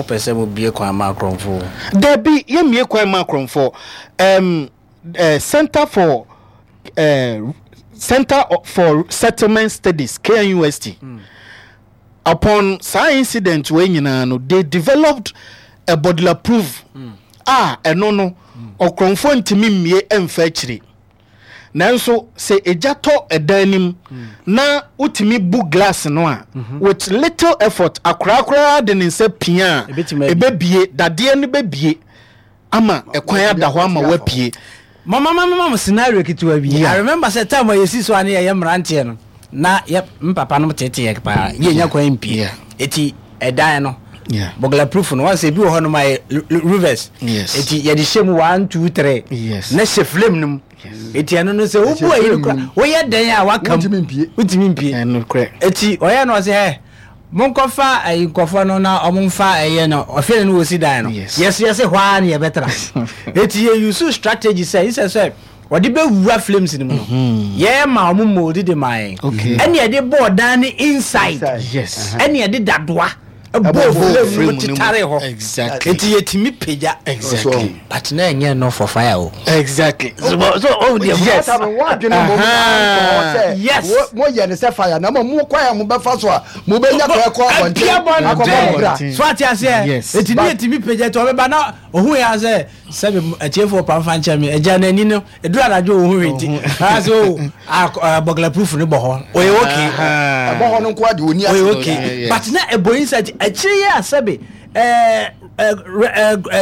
Mopɛ sɛ mobue kwan ma akorɔmfoɔ? Dabi, yɛmmue kwan mma akorɔmfoɔ. Um, uh, Center for uh, Center for Settlement Studies, KNUST. Mm. Upon saa incident wei nyinaa no, they developed a burglar proof mm. a ɛno no, ɔkorɔmfoɔ ntumi mmue mfa akyire. Nanso sɛ egya tɔ ɛdan no mu na wotumi bu glass no a, with little effort, akoraa koraa de ne nsa pia a, ɛbɛbie, dadeɛ no bɛbie ama ɛkwan ada hɔ ama woapue. Mama ma mema mo scenario ketewa bi. I remember sɛ time a yɛsi so a ne yɛyɛ mmeranteɛ no, na yɛ me papa nom tete yɛ paa, ne yɛnya kwan mpie. Eti ɛdan no, burglar proof no, wɔn sɛ ebi wɔ hɔ nom a yɛ reverse. Eti yɛde hyɛ mu 1 2 3 na hyɛ flame no mu. Eti ɛno no sɛ wobu ayi no kora, woyɛ dɛn a waka mu, wontumi mpie. Eti ɔyɛ no ɔsɛ ɛ monkɔfa ayi nkɔfoɔ no na ɔmo nfa ɛyɛ no ɔfɛ no wɔsi dan no. Yɛsɛ yɛsɛ hɔ ara na yɛbɛtra. Eti yɛ use strategy sɛ nsɛ sɛ wɔde bɛwura flames no mu no yɛn ma wɔn mold de maa yɛn ɛne yɛde bɔɔ dan no inside ɛne yɛde dadoa bɔɔ flame no mu tetare hɔ nti yɛtumi pagya but na ɛnyɛ no for fire o. Exactly. So so oh deɛ yes. Yes. Mo yɛ ne sɛ fire na mo mo kwan a mo bɛfa so a mo bɛ nya kɔ ɛkɔ abɔnten akɔbɔ mo bra. So ate aseɛ eti ne yɛtumi pagya nti ɔbɛba na ohun yɛ asɛ. Sɛbe atiefoɔ pa mfa nkyɛ me, agya n'ani no, ɛduru anadwo ɔhu hwee nti, ɔka sɛ o, ah, burglar proof no bɔ hɔ, ɔyɛ okay. Ɛbɔ hɔ no nko ara de ɔni ase. Ɔyɛ okay. But na ɛbɔ inside, akyire yi a sɛbe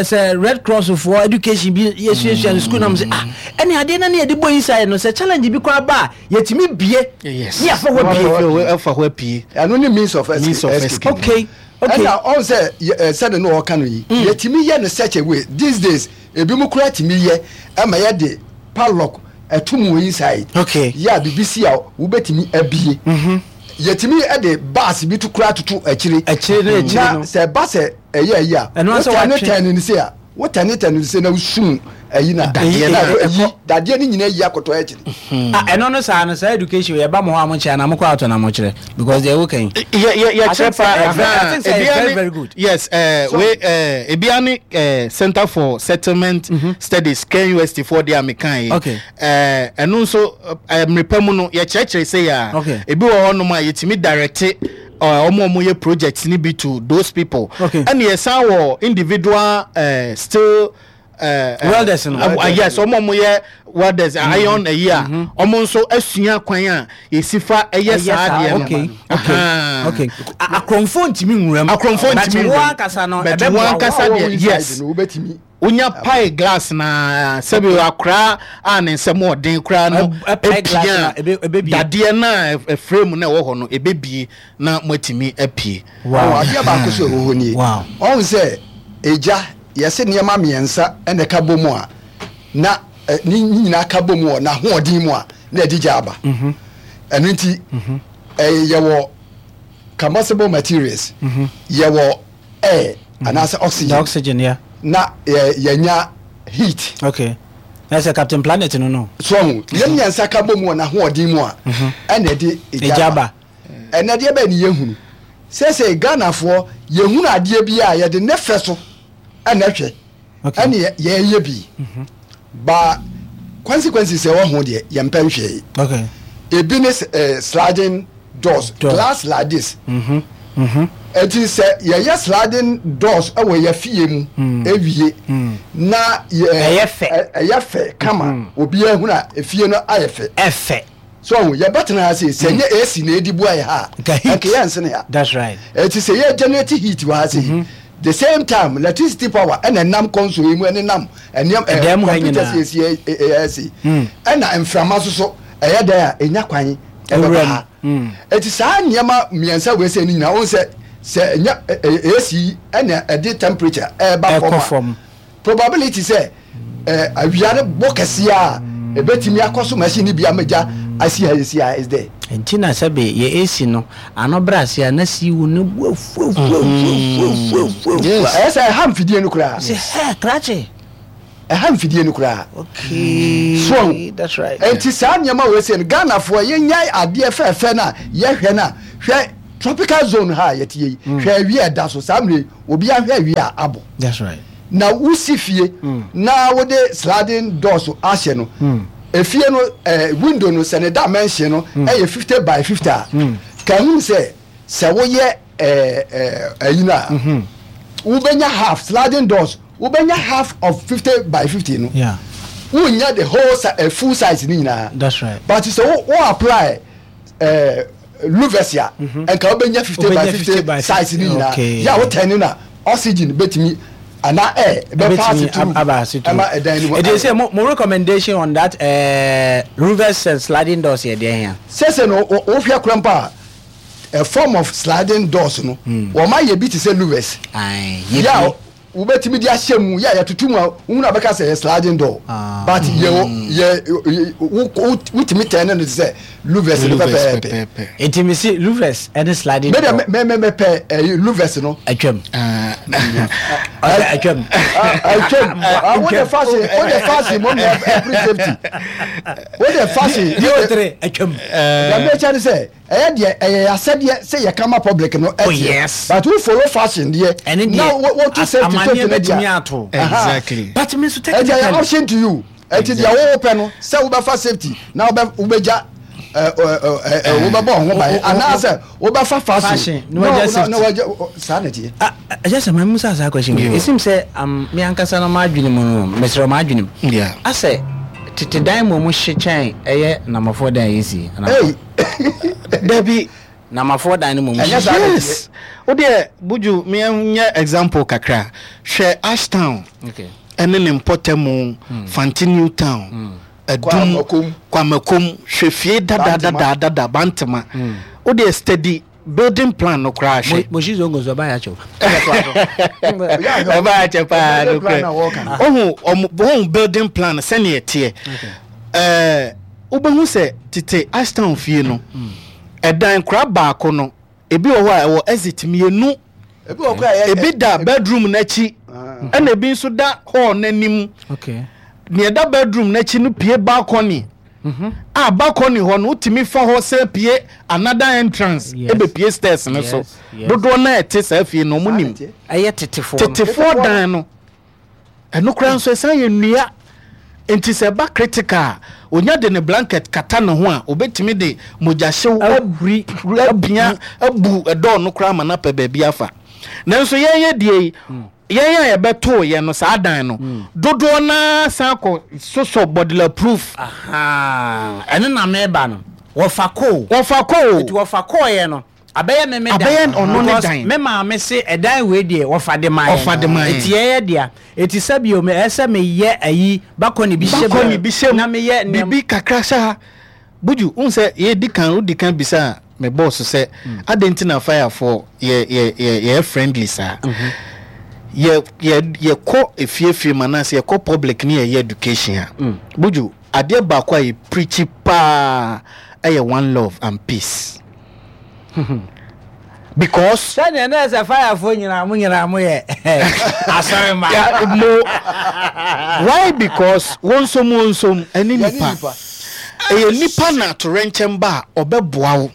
sɛ Red Cross foɔ education bi yɛsuasua no school na mo sɛ ah, ɛne adeɛ na ne yɛde bɔ inside no, sɛ challenge bi koraa ba a, yɛtumi bie, ne yɛafa hɔ abie. Ɛfa hɔ apue. Ɛno ne means of escape. Okay. Okay. Ɛna ɔn sɛ ɛ sɛde no ɔka no yi mm. yɛtumi yɛ no such a way these days ebi mu koraa tumi yɛ ɛma yɛde padlock ɛto mu wɔ inside. Okay. Yɛ a bibi si a wobɛtumi abie. Mm -hmm. Yɛtumi ɛde bus bi to koraa toto akyire. Akyire no akyire no. Na sɛ ɛba sɛ ɛyɛ ayi a. Ɛno asɛ watwe. Wotɛne tɛne no se a wotɛne tɛne no se na wosum ayi na. Dadeɛ no ayi dadeɛ no nyinaa yi akɔtɔ akyire. Ah ɛno no saa no saa education yɛ ba mo hɔ a mo nkyerɛ anaa mo kɔ out na mo kyerɛ because deɛ woka yi. Yɛ yɛ yɛ kyerɛ paa ɛhɛn ebia ne yes ɛɛ we ɛɛ ebia ne ɛɛ Center for Settlement mm -hmm. Studies KNUST foɔ deɛ a mi kan yi. Okay. Ɛɛ ɛno nso ɛɛ mmerepɛ mu no yɛkyerɛkyerɛ sɛ yɛ a. Okay. Ebi wɔ hɔ nom a yɛtumi direct ɔmo ɔmo yɛ projects ni bi to those people. Okay. Ɛna yɛsan wɔ individual ɛɛ still. Eh, eh, welders no uh, yes ɔmo ɔmo yɛ welders mm. iron ɛyi a mm-hmm. ɔmo nso asua kwan a yɛsi fa ɛyɛ saa adeɛ no okay okay okay akorɔmfoɔ ntumi nwura mu akorɔmfoɔ ntumi nwura mu but wɔn ankasa no but wɔn ankasa deɛ yes wonya pae glass na sɛbi akora a ne nsɛm ɔden koraa no epia dadeɛ na frame na ɛwɔ hɔ no ebebie na moatumi apue. Wow adeɛ baako so ɛwɔ hɔ nie ɔn sɛ egya Yɛse nneɛma mmiɛnsa na ɛka bɔ mu a na ne nyinaa ka bɔ mu wɔ n'ahoɔden mu a na ɛde gya aba. Ɛno nti yɛwɔ combustible materials, yɛwɔ air anaasɛ oxygen, oxygen yeah. Na yɛnya heat. Okay. Na sɛ Captain Planet no no. So ɔho, yɛn mmiɛnsa ka bɔ mu wɔ n'ahoɔden mu a ɛna ɛde egya ba. Ɛnɛ deɛ bɛn ne yɛhunu? Seesei Ghanafoɔ yɛhunu adeɛ bi a yɛde ne fɛ so ɛna ɛhwɛ ɛne yɛyɛ bi mhm. ba consequences ɛwɔ ho deɛ yɛmpɛ nhwɛe. Ebi ne eh, sliding doors, glass like this. Mhm. Mhm. Eti sɛ yɛyɛ sliding doors ɛwɔ yɛ fie mu mm. ewie mm. na yɛ ɛyɛ fɛ ɛyɛ fɛ kama obiara hunu a efie no ayɛ fɛ. Ɛfɛ. So ɔho, yɛbɛtena ha sei, sɛ ɛnyɛ AC na ɛdi boa yɛ ha a, Nka heat. anka yɛnsene ha. That's right. Ɛti sɛ yɛ generate heat wɔ ha sei, mm -hmm. the same time electricity power ɛna ɛnam console yi mu ɛne nam ɛnneɛm Ɛdan mu ha computers nyinaa. yɛsi ɛyɛ sei, ɛna mframa nso so ɛyɛ dɛn a ɛnya kwan ɛbɛba Ɛwura ha. mu. Ɛti saa nneɛma mmiɛnsa wei sɛ ne nyinaa, wohu sɛ sɛ ɛnyɛ AC yi ɛna ɛde temperature ɛba Ɛkɔ fam a, fam. Probability sɛ awia no bɔ kɛseɛ a ɛbɛtumi akɔ so machine no bi ama gya asi ha yɛsi ha is there. Nti na sɛbe yɛ AC no ano brɛ ase a na siw no bu afuafuafuafuafuafua. Yes. Ɛyɛ sɛ ɛha mfidie no koraa. Sɛ hɛ krakye. Ɛha mfidie no koraa. Okay. So that's right. Nti saa nneɛma wei sɛ no Ghanafoɔ yɛnyae adeɛ fɛɛfɛ no a yɛhwɛ no a hwɛ. Tropical zone ha a yɛte yi, hwɛ awia ɛda so saa mmerɛ yi, obi ahwɛ awia a abɔ. That's right. Na wosi fie na wode sliding doors ahyɛ no, efie no window no sɛ ne dimension no ɛyɛ 50 by 50 a, ka ehunu sɛ sɛ woyɛ ɛyi no a, wobɛnya half sliding doors, wobɛnya half of 50 by 50 no. Yeah. Wonya the whole full size ne nyinaa. That's right. But sɛ wo apply louvers a, nka wobɛnya 50 by 50 size ne nyinaa. Yɛ a wotɛn no na oxygen bɛtumi anaa air bɛfa ase through ɛma ɛdan no mu. Ɛdi sɛ mo recommendation on that louvers and sliding doors yɛ deɛ hia. Sɛsɛ no wohwɛ kora mpo a, a form of sliding doors no, wɔn ayɛ bi te sɛ louvers. Yɛ a wobɛtumi de ahyɛ mu, yɛ a yɛtoto mu a wohunu a bɛka sɛ yɛ sliding door, but yɛ yɛ wotumi tɛn no te sɛ louvers no pɛpɛɛpɛ. Nti mi si louvers ɛne sliding door. Mɛ mɛ mɛ pɛ ɛyi louvers no. Atwam. Ɔsɛ atwam. Atwam. Wo de fashion, wo de fashion mo na every safety. Wo de fashion. DO3 atwam. Dɛm ɛkyɛ ne sɛ. Ɛyɛ deɛ ɛyɛ yɛ asɛdeɛ sɛ yɛ kama public no ɛteɛ. Oh yes. But wo follow fashion deɛ. Ɛne deɛ na wo to safety safety no deɛ. Ato. Exactly. But me nso technically. Ɛti ɛyɛ option to you. Ɛti deɛ wo pɛ no sɛ wo bɛfa safety na wo bɛ wo bɛ gya ɛɛ ɛɛ ɛɛ wo bɛ bɔ ɔho ban anaasɛ wo bɛ fa fashion na wagya safety. Na wagya saa na ɛteɛ. Ah ɛyɛ sɛ maa mu sa saa question yi. Esim sɛ am me ankasa no m'adwene mu no mesrɛ m'adwene mu. Yeah. Asɛ tete dan mu ɔmo hye kyɛn ɛyɛ namafoɔ dan a yɛsi. Hey. Dabi. Namafoɔ dan no mmom. Ɛnyɛ saa na Yes. Wo deɛ Buju me nyɛ example kakra. Hwɛ Ashtown. Okay. Ɛne ne mpɔtamu, Fante New Town, Adum, Kwamakom, hwɛ fie dada dada dada Bantama. Wo deɛ steady building plan no koraa hwɛ. Moshi Zongo nso ɛba yɛ akyɛw. Ɛba yɛ akyɛ paa no korɛ. Ohu ɔmo ohu building plan sɛnea ɛteɛ. Ɛɛ wobɛhu sɛ tete Ashtown fie no ɛdan kora baako no ebi wɔ hɔ a ɛwɔ exit mmienu. Ebi da bedroom n'akyi ɛna ebi nso da hall n'anim. Nea ɛda bedroom n'akyi no pie balcony. A balcony hɔ no wotumi fa hɔ sɛ pie another entrance ebepie stairs no so. Dodoɔ no a ɛte saa fie no wɔn nim. Ɛyɛ tetefoɔ. Tetefoɔ dan no. Ɛno koraa nso ɛsan yɛ nnua. Nti sɛ ɛba critical a, onya de ne blanket kata ne ho a, obetumi de mogyahyew ahuri apia abu ɛdɔɔ no koraa ma no apɛ baabi afa. Nanso yɛn yɛ deɛ yi, yɛn a yɛbɛtoo yɛn no saa dan no, dodoɔ no ara san kɔ sosɔ bɔdela proof. Ahaa, ɛno na meba no. Wɔfa koo. Wɔfa koo. Nti wɔfa kɔɔeɛ no, Abɛyɛ me me dan. Abɛyɛ ɔno ne Because dan. me maame se ɛdan wei deɛ wɔfa de ma yɛn. Ɔfa de ma yɛn. Eti ɛyɛ dea. Eti sɛbio me ɛsɛ me yɛ ayi bakɔni bi hyɛ mu. Bakɔni bi hyɛ mu. Na me yɛ nneɛma. Bibi kakra hyɛ ha. Buju, wohu sɛ yɛdi kan, wodi kan bisaa me boss sɛ adɛn nti na firefoɔ yɛ yɛ yɛ yɛyɛ friendly saa. Yɛ yɛ yɛkɔ efiefie mu anaasɛ yɛkɔ public ne yɛyɛ education a, Buju, adeɛ baako a yɛ preachi paa ɛyɛ one love and peace. Because. Sɛdeɛ na ɛsɛ firefoɔ nyinaa mo nyinaa mo yɛ asɔre ma. Mo why because wɔn nso mo nso ɛne nipa ɛyɛ nipa na atorɛnkyɛm ba a ɔbɛboa wo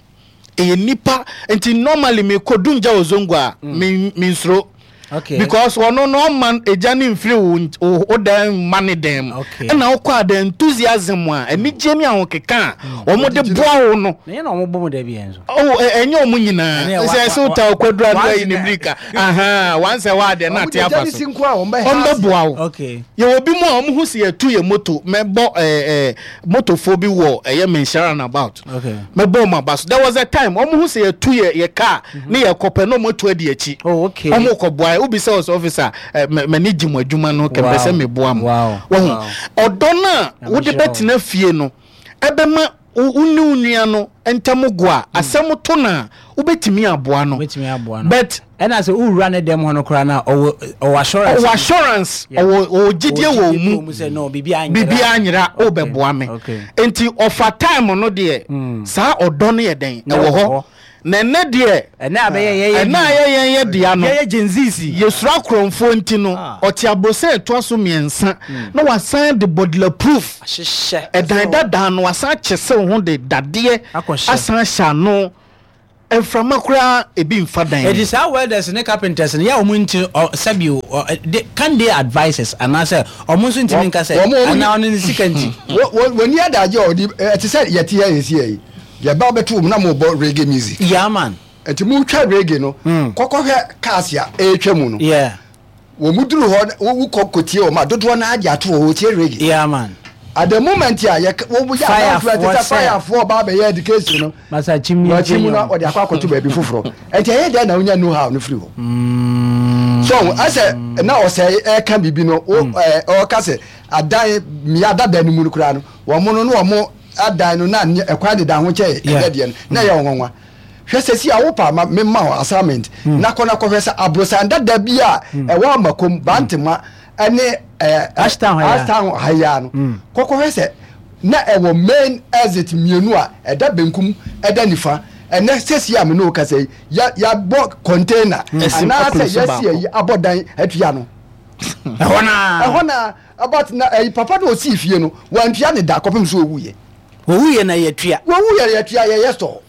ɛyɛ nipa nti normally me kɔ dumgya wɔ zongo a me me nsuro. Okay. Because ɔno no ɔma egya no mfiri wo wo dan mma ne dan mu. Okay. Ɛna wokɔ a the enthusiasm a anigye ne ahokeka a wɔn de boa wo no. Na yɛn na wɔn bɔ mu da bi yɛn nso. Oh, ɛnyɛ wɔn nyinaa. Sɛ ɛsɛ wota ɔkwadura no ayi ne mirika. Aha, once a while deɛ na ate afa so. Wɔn bɛboa wo. Okay. Yɛwɔ bi mu a wɔn ho si yɛtu yɛ moto mɛbɔ ɛɛ ɛɛ motofoɔ bi wɔ ɛyɛ Menhyia roundabout. Okay. Mɛbɔ wɔn aba so. There was a time wɔn ho sɛ yɛtu yɛ yɛ car ne yɛ kɔpɛ na wɔn atu adi akyi. Oh, okay. Wɔn kɔ boa yɛ. Wobi sɛ ɔsɛ officer ɛ mɛ m'ani gye mo adwuma no kɛmpɛ sɛ Wow. meboa mo. Wow. Wɔho Wow. ɔdɔ no a Nyame wode nhyira wo. bɛtena fie no ɛbɛma wo wo ne wo nua no ntam go a asɛm to no a wobɛtumi aboa no. Wobɛtumi aboa no. But Ɛna sɛ wowura ne dɛm hɔ no koraa no a ɔwɔ ɔwɔ assurance. Ɔwɔ assurance, Yeah. ɔwɔ ɔwɔ gyidie Ɔwɔ wɔ wo gyidie mu. wɔ mu sɛ no biribiara nyera. Biribiara nyera, Okay, wobɛboa me. okay. Nti ɔfa time no deɛ, saa ɔdɔ no yɛ dɛn? Na Ɛwɔ ɛwɔ hɔ. hɔ. Na ɛnnɛ deɛ, Ɛnɛ abɛyɛ yɛyɛ ɛnɛ a yɛyɛ yɛn yɛ dea no, yɛyɛ Gen Zs. yɛsuro akorɔmfoɔ nti no, Ah. ɔte abrosɛ a ɛtoa so mmiɛnsa na wasan de bɔdela proof Ahyehyɛ. ɛdan dadaa no wasan akyesew ho de dadeɛ Akɔhyɛ. asan ahyɛ ano. Mframa koraa ebi mfa dan Eti mu. saa welders ne carpenters no yɛ a wɔn nti ɔ sɛbi o ɔ ɛ de can they advise us anaasɛ wɔn nso ntumi nka sɛ Wɔn wɔn anaa ɔno ne sika nti. Wɔ wɔ wɔnni adagye a wɔde ɛte sɛ yɛte ha yɛsi ha yi yɛba bɛto wɔn na mobɔ reggae music. Yeah man. Nti motwa reggae no kɔkɔhwɛ cars a ɛretwa mu no. Yeah. Wɔn duru hɔ wo wokɔ kɔtie wɔn a dodoɔ no ara de ato hɔ wɔtie reggae. Yeah man. At the moment a yɛ wɔn yɛ announcement Firefoɔ sɛ sɛ. firefoɔ ba abɛyɛ education no. Masa chimney Wakyi mu na nkyɛn ɔde akɔ akɔto baabi foforɔ. Nti ɛyɛ dɛn na wonya know how no firi hɔ? So asɛ na ɔsɛ ɛka biribi no wo ɛɛ ɔka sɛ adan mmea dada no mu no koraa no wɔn no na wɔn adan no na ɛkwan deda ho kyɛ ɛdɛ deɛ no na ɛyɛ wɔn nwanwa. Hwɛ sɛsi a wopa ma mema wo assignment na kɔ na kɔhwɛ sɛ aborosan dada bi a ɛwɔ Amakom, Bantama ɛne ɛɛ Ashtown ha yi a. Ashtown ha yi a no kɔkɔhwɛ sɛ na ɛwɔ main exit mmienu a ɛda benkum ɛda nifa ɛnɛ sɛsi a me ne wo kasa yi ya yabɔ container Ɛsi anaasɛ akoro so yɛasi baako. ayi abɔ dan atua no Ɛhɔ naa. ɛhɔ na about na ɛyi papa na osii fie no wantua ne da kɔpem so owuiɛ. Wɔwuiɛ na yɛtua. Wɔwuiɛ na yɛtua yɛyɛ store.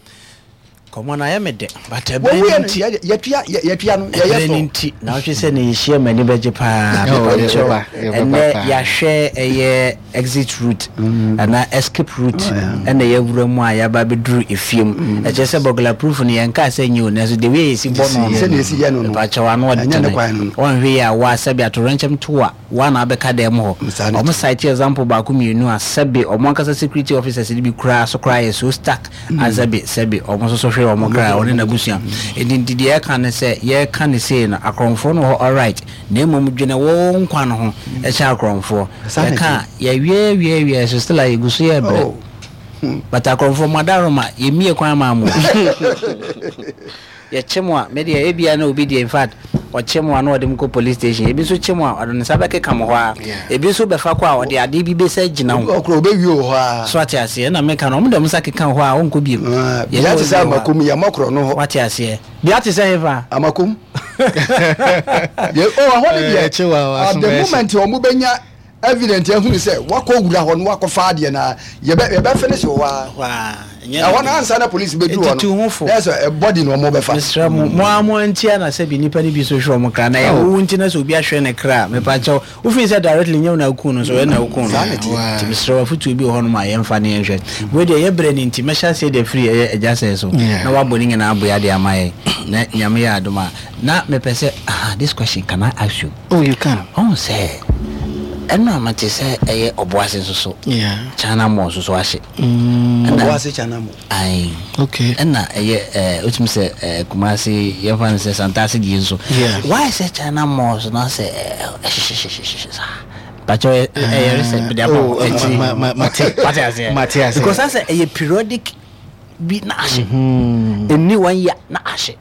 Kɔmɔ no ayɛ me dɛ but ɛberɛ Wɔwuiɛ no no nti. yɛtua yɛtua no yɛyɛ Ɛberɛ no store. nti na wohwɛ sɛ na yɛhyia m'ani bɛgye paa mepakyɛw ɛnɛ yɛahwɛ ɛyɛ exit route anaa escape route ɛna yɛawura mu a yɛaba abɛduru efie mu ɛkyerɛ sɛ burglar proof no yɛnkaa sɛ nyɛ o nanso the way yɛsi bɔ no no Sɛdeɛ yɛsi yɛ no no mepakyɛw ano ɛnyɛ ne ɔdene kwan no no. wɔnhwɛ yie a woa sɛbe atoyerɛnkyɛm to a Woa na abɛka dɛm hɔ. Saa na Ɔmo ɛte. cite example baako mienu a sɛbe ɔmo ankasa security officers no bi koraa so koraa yɛ so stuck a sɛbe sɛbe ɔmo nso so hwere ɔmo kra ɔne n'abusua. Enti nti deɛ yɛka ne sɛ yɛka no sei no akorɔmfoɔ no wɔ hɔ alright na mmom dwene wo nkwa no ho kyɛn akorɔmfoɔ. Saa na Yɛka ɛte. a yɛwie wie wie so still a yɛgu so yɛbrɛ. Oh. But akorɔmfoɔ mo adaworoma yɛmmie kwan maa mo o. Yɛkye mo a, me deɛ ebia na obi deɛ in fact ɔkye mo a na ɔde mo kɔ police station, ebi nso kye mo a ɔde ne nsa bɛkeka mo hɔ ara, ebi nso bɛfa kɔ a ɔde adeɛ bi bɛsa gyina Obi wo. wɔ hɔ koraa ɔbɛwie wɔ hɔ ara. So ate aseɛ? Ɛna meka no, wɔn de wɔn nsa keka wo hɔ a wonkɔ biom. Ah, Yɛne Bea wo te sɛ wie hɔ a. Amakom, yɛmmɔ korɔ no hɔ. Wate aseɛ? Bea te sɛ hefa? Amakom. Yɛ, oh, ɛhɔ no deɛ, Eh, kye wa, wa, at the aso bɛyɛ hye. moment wɔn bɛnya evident ahunu sɛ wakɔ wura hɔ no wakɔfa adeɛ no a yɛbɛ yɛbɛ finish wɔ hɔ ara. Hɔ ara, ɛnyɛ Ɛhɔ no den. ansa na police bɛduru hɔ Eti tu no ho fo. na ɛsɛ body na wɔn bɛfa. Mesrɛ mo, mo ara mo antia na sɛbi nnipa no bi nso hwere wɔn kra, na ɛyɛ wo nti na sɛ obi ahwere ne kra a, mepa kyɛw, wofii sɛ directly nyɛ wo na wokuu no nso, ɛyɛ na wokuu no. Saa na ɛteɛ. Nti mesrɛ wo, afotuo bi wɔ hɔnom a yɛmfa ne yɛnhwɛ. Wei deɛ yɛ berɛ no nti, mɛhyɛ aseɛ de afiri ɛyɛ agya sɛɛ so, na wabɔ ne nyinaa aboa de ama yɛn, na Nyame yɛ adom a. Na mepɛ sɛ, aha, this question, can I ask you? Oh, you can. Ɔhu sɛ ɛno a mate sɛ ɛyɛ ɔboase nso so. Yeah. China mall nso so ahye. Mm. Ɔboase China mall. Ayi. Okay. Ɛna ɛyɛ ɛɛ otumi sɛ ɛɛ Kumasi yɛfa no sɛ Santase die nso. Yeah. Why sɛ China mall so na sɛ ɛɛ ɛhyehyɛhyehyɛ saa. Pakyɛ ɛyɛ resɛ mede ama Oh, akyi. ma ma ma te. Wate aseɛ. Mate aseɛ. Because asɛ ɛyɛ periodic bi na ahye. Ɛnni one year na ahye.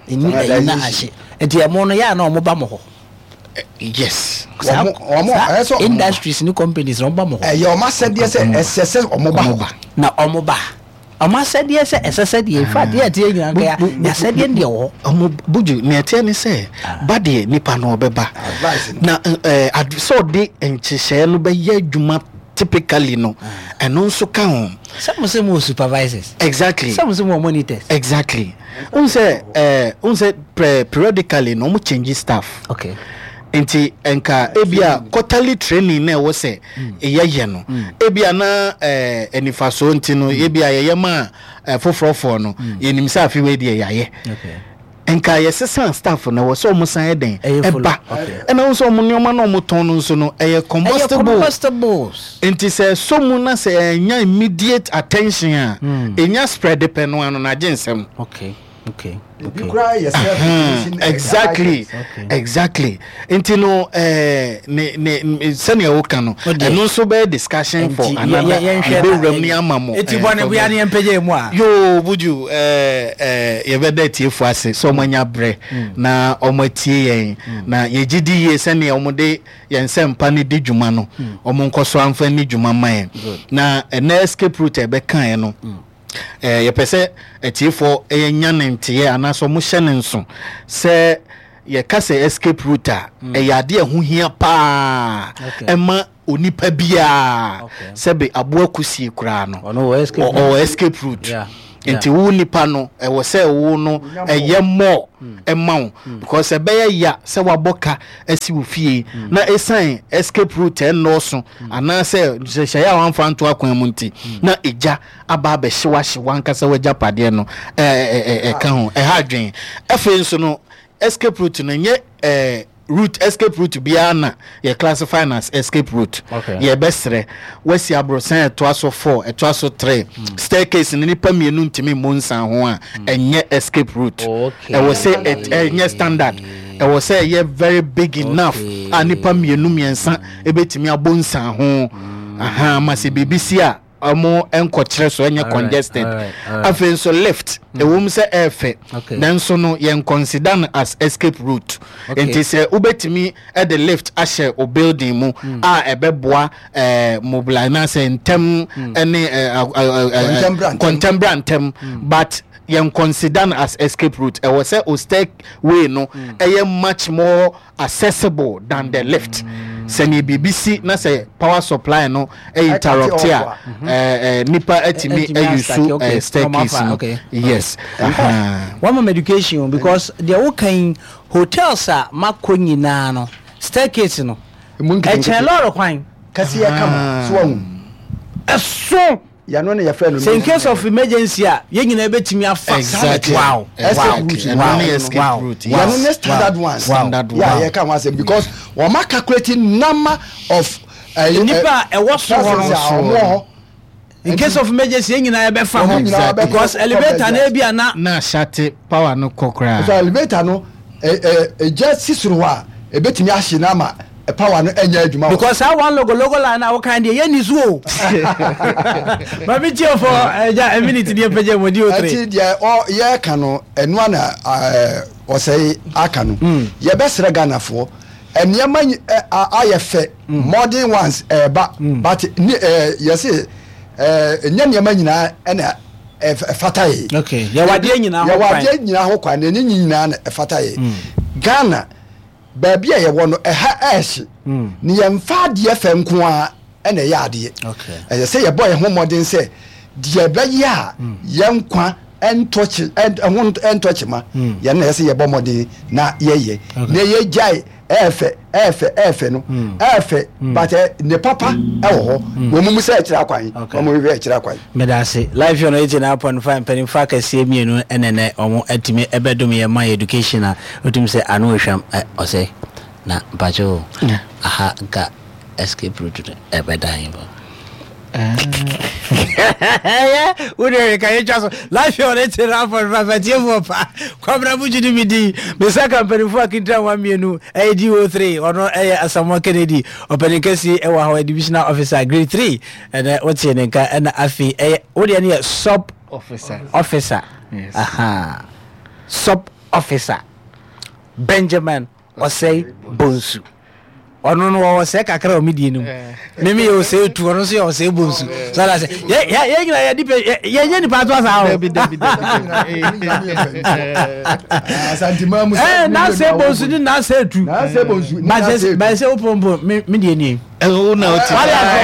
Ɛnni ɛyi na ahye. Nti ɛmo no yɛ a na ɔmo ba mo hɔ. Yes. Saa saa industries ne companies na ɔmo ba mo hɔ. Ɛyɛ ɔmo asɛdeɛ sɛ ɛsɛ sɛ ɔmo ba hɔ. Na ɔmo ba. Ɔmo asɛdeɛ sɛ ɛsɛ sɛ deɛ in fact deɛ ɛteɛ nyinaa nka yɛ asɛdeɛ deɛ wɔ hɔ. Ɔmo buju nea ɛteɛ ne sɛ ba deɛ nipa no ɔbɛba. Na ɛɛ sɛ ɔde nhyehyɛɛ no bɛyɛ adwuma typically no ɛno nso ka ho. Sɛ mo sɛ mo wɔ supervisors. Exactly. Sɛ mo sɛ mo wɔ monitors. Exactly. N sɛ ɛɛ n sɛ periodically na wɔn change staff. Okay. Nti nka ebia quarterly training na ɛwɔ sɛ yɛyɛ no ebia na ɛɛ anifasoɔ nti no ebia yɛyɛ ma foforɔfoɔ no yɛnim sɛ afi wei deɛ yɛayɛ. Okay. Nka yɛsesa staff no ɛwɔ sɛ wɔn san yɛ dɛn ɛba ɛna wɔn nso wɔn nneɛma na wɔn tɔn no nso no ɛyɛ combustible combustibles nti sɛ ɛsɔ mu na sɛ ɛnya immediate attention a ɛnya spread pɛ no ano na agye nsɛm. Okay okay okay. Exactly exactly nti no ɛɛ ne ne sɛnea woka no ɛno nso bɛyɛ discussion for another yɛbɛwura mu ne ama mo. Eti bɔ ne bua ne yɛn mpagya mu a. Yoo Buju ɛɛ ɛɛ yɛbɛda atiefo ase sɛ wɔn anya brɛ na wɔn atie yɛn na yɛgye di yie sɛnea wɔn de yɛn nsɛmpa no di dwuma no wɔn nkɔ so amfa nni dwuma ma yɛn na ɛnɛ escape route a yɛbɛkaeɛ no. Ɛɛ yɛpɛ sɛ atiefoɔ nya ne nteɛ anaasɛ wɔhyɛ no nso sɛ yɛka sɛ escape route a mm. ɛyɛ adeɛ a ɛho hia paa ɛma onipa biara sɛbe aboa kusie koraa no ɔwɔ escape route. Nti wo nipa no ɛwɔ sɛ wo no ɛyɛ more ɛma wo because ɛbɛyɛ ya sɛ wabɔ ka asi wo fie na ɛsan escape route ɛnnɔɔso anaasɛ nhyehyɛeɛ a wamfa nto akwan mu nti na egya aba abɛhye wahye wankasa w'agyapadeɛ no ɛka ho ɛha adwene. Afei nso no escape route no nyɛ ɛɛ route escape route biara na yɛ classify no as escape route. Okay. Yɛbɛsrɛ wasi aborosan ɛtoa so 4 ɛtoa so 3 mm. Staircase no nipa mmienu ntumi mmu nsan ho a mm. Ɛnyɛ escape route. Ɛwɔ sɛ ɛnyɛ standard, ɛwɔ sɛ ɛyɛ very big enough a nipa mmienu mmiɛnsa ɛbɛtumi abɔ nsan ho mm. Aha ma sɛ biribi si a ɔmo nkɔkyerɛ so ɛnyɛ congested. Afei nso lift ɛwom sɛ ɛɛfɛ nanso no yɛn consider no as escape route. Nti sɛ wobɛtumi ɛde lift ahyɛ o building mu mm. a ɛbɛboa ɛɛ mobilize na sɛ ntɛm ɛne ɛɛ kɔntɛmbra ntɛm, but yɛn consider no as escape route. Ɛwɔ sɛ o stairway no ɛyɛ much more accessible than the lift, sɛnea biribi si na sɛ power supply no interrupt a ɛɛ nipa atumi ayusu ɛɛ staircase no, yes. One more education, because deɛ wokan hotels a makɔ nyinaa no, staircase no ɛkyɛn lɔɔre kwan. Kɛseɛ kama so wahu. Ɛso yɛno ne yɛfrɛ no sɛ in case of emergency a yɛn nyinaa bɛtumi afa. Exactly. Wow. Ɛno ne escape route. Yɛno ne standard one. Standard one. Yeah, yɛka ho asɛm because wɔn calculate number of nipa a ɛwɔ so hɔ no no hɔ. In case of emergency yɛn nyinaa yɛbɛfa hɔ because elevator na ebi ana. Na ahyate power no kɔ koraa. So elevator no ɛgya si soro hɔ a ebetumi ahye na ama power no ɛnyɛ adwuma. Because saa one logo logo line na wokan deɛ yɛn ni so o. Maame tie fɔ ɛgya a minute ni epagya mu di o three. Ɛti deɛ ɔ yɛka no ɛnoa na ɔsɛe aka no yɛbɛsrɛ Ghanafoɔ nneɛma ayɛ fɛ, modern ones ɛɛba, but ne yɛse ɛnyɛ nneɛma nyinaa ɛna ɛfata yɛ. Okay, yɛwɔ adeɛ nyinaa ho yɛwɔ kwan. Adeɛ nyinaa ho kwan na ɛnyɛ nyinaa na ɛfata yɛ. Ghana baabi a yɛwɔ no ɛha ɛɛhye ne yɛmfa adeɛ fɛ nko ara ɛna ɛyɛ adeɛ. Ɛyɛ sɛ yɛbɔ yɛn ho mmɔden sɛ deɛ ɛbɛyɛ a yɛn nkwa ɛntɔkye ɛho ɛntɔkye ma yɛn na ɛyɛ sɛ yɛbɔ mmɔden na yɛyɛ na yɛgyae ɛɛfɛ ɛɛfɛ ɛɛfɛ no ɛɛfɛ, but ne papa ɛwɔ hɔ wɔn mu sɛ ɛkyerɛ akwan wɔn hwehwɛ ɛkyerɛ akwan. Meda ase. Live on 89.5 mpanimfoɔ akɛseɛ mmienu ɛnɛ nɛ wɔn atumi ɛbɛdom yɛn ma yɛ education a wotumi sɛ ano ehwam ɛ ɔsɛ na mpakyɛ o aha nka escape route no ɛbɛdan bɔ. Wode reka yɛtwa so live on 89.5 atiefoɔ pa Kwabena Bugyi ne me din mesa ka mpanimfoɔ akintra wa mmienu ɛyɛ DO3 ɔno ɛyɛ Asamoah Kennedy ɔpanin kɛseɛ ɛwɔ ha ɔyɛ divisional officer grade 3 ɛnɛ wotie ne nka ɛna afei ɛyɛ wodeɛ no yɛ sub officer. Officer. Yes. Aha. Sub officer Benjamin Ɔsɛe Bonsu ɔno no wɔwɔ sɛ kakra wɔ medie no mu meme yɛ ɔsɛe tu ɔno nso yɛ ɔsɛe bonsu so ada sɛ yɛ nyina yɛ nipa yɛnyɛ nipa ato asa o Dabi, dabi, dabi, dabi. N'asɛ bonsu ne n'asɛ tu N'asɛ bonsu ne n'asɛ tu. Bàyɛ sɛ wopompo me deɛ nie. Ɛwɔ na ɔte. Wale afɛ.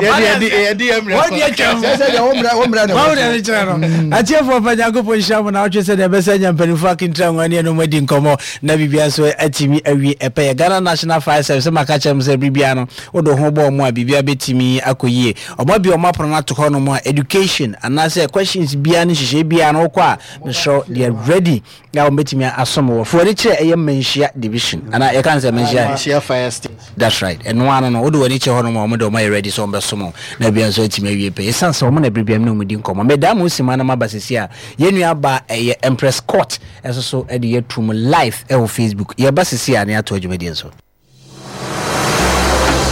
Yɛde yɛde yɛ mmerɛ Wɔn deɛ twɛm. Sɛ deɛ wo mmerɛ wo mmerɛ na Wɔn ɛwɔ deɛ so. ne kyerɛ no. Atiefoɔ pa Nyankopɔn nhyira mo na wotwe sɛ deɛ ɛbɛsɛ nya mpanimfoɔ akentra nwa ne ɛnom adi nkɔmmɔ na biribia nso atumi awie ɛpɛyɛ. Ghana National Fire Service sɛ maka kyerɛ mo sɛ biribia no wode ho bɔ ɔmo a biribia bɛtumi akɔ yie. Ɔmo abie ɔmo apono no ato hɔ nom a education anaasɛ questions biara ne nhyehyɛe biara no wokɔ a mesrɛ they are ready na wɔn bɛtumi asom wɔ. Fo ani kyerɛ ɛyɛ Manhyia division anaa yɛka no sɛ Manhyia. Manhyia fire station. That's right. Ɛno ano no, wode w'ani kyerɛ hɔnom a, wɔn de wɔn ayɛ ready sɛ wɔbɛsom wo na biribiara nso atumi awie pɛ. Esiane sɛ wɔn na bere biara me ne wɔn di nkɔmmɔ. Medaa mo simma na maba seesei a, yɛn nua baa ɛyɛ Empress Court nso so de yɛ to mu live ɛwɔ Facebook. Yɛba seesei a na yɛatoa dwumadie no so.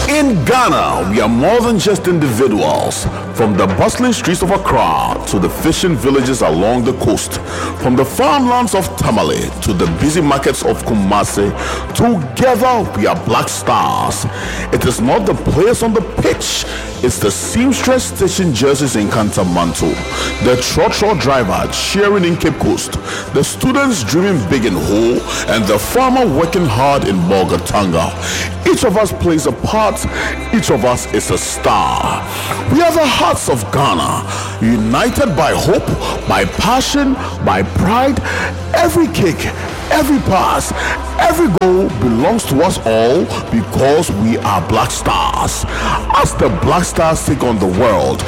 In Ghana, we are more than just individuals. From the bustling streets of Accra to the fishing villages along the coast, from the farmlands of Tamale to the busy markets of Kumasi, together we are Black Stars. It is not the players on the pitch, It's the seamstress stitching jerseys in Kantamanto, the trotro driver cheering in Cape Coast, the students dreaming big in Ho, and the farmer working hard in Bolgatanga. Each of us plays a part, each of us is a star. We are the hearts of Ghana, united by hope, by passion, by pride. Every kick, every pass, every goal belongs to us all because we are Black Stars. As the Black Stars take on the world,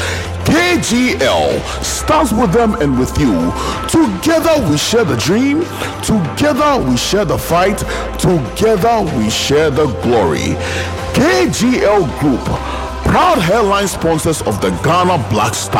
KGL stands with them and with you. Together we share the dream, together we share the fight, together we share the glory. KGL Group, proud headline sponsors of the Ghana Black Stars.